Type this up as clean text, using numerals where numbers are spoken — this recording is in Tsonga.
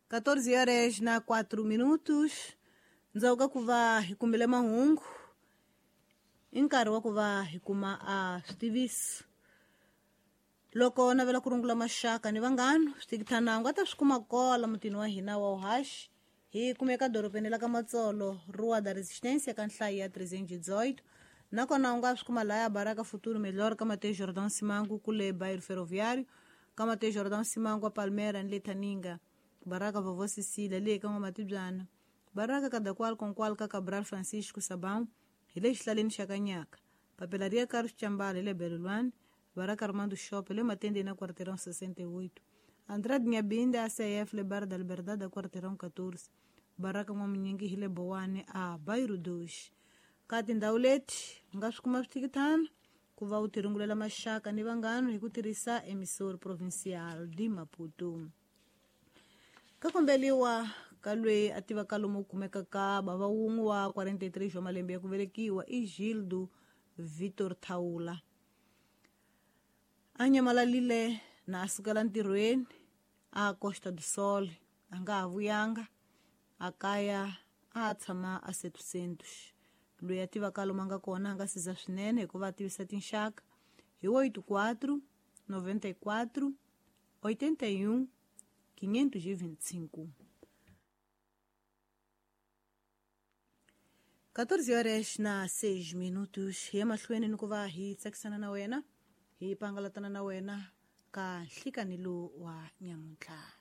14 horas na 4 minutos. Ndzhaku ka ku va hi kumile mahungu i nkarhi wa ku va hi kuma a switiviso. Loko navela ku rungula maxaka ni vanghana, switikithanangu a ta swi kuma kola mutini wa hina wa uhaxi. Hi kumeka dorobeni la ka Matsolo, Rua da Resistência, ka nhlayo ya 318. Nakona u nga swi kuma laya Baraka Futuro Melhor, ka Mateus Jordão Simango, kule Bairro Ferroviário, ka Mateus Jordão Simango a Palmeiras ni le Thaninga, Baraka Vovó Cecília le ka N'wamatibyana, Baraka Kadakwal Konkwal ka Cabral Francisco Sabão hi le xihlaleni xa Kanyaka, Papelaria Carlos Chambala hi le Belulwani, Baraka Armando Shop le Matendeni na Quarteirão 68, Andrade Nyabinda ACF le Bar da Liberdade a Quarteirão 14, Baraka N'wamunyingi hi le Bowani a Bairro 2. Ka tindhawu leti u nga swi kuma switikithana ku va u tirungulela maxaka ni vanghana hi ku tirhisa emissor provincial de Maputo. Ka kombeliwa ka loyi a tivaka lomu kumeka ka bava wun'we wa 43 wa malembe ya ku velekiwa i Gildo Vitor Thaula. A nyamalalile na a sukela ntirhweni a Costa do Sol, a nga ha vuyanga a kaya, a tshama a 700. Loyi a tivaka lomu a nga kona a nga siza swinene hikuva a tivisa tinxaka hi 84 94 81 525. 14 horas na 6 minutos. Hi ya mahlweni ni ku va hi tsakisana na wena, hi pangalatana na wena ka nhlikani lowu wa nyamuntlha.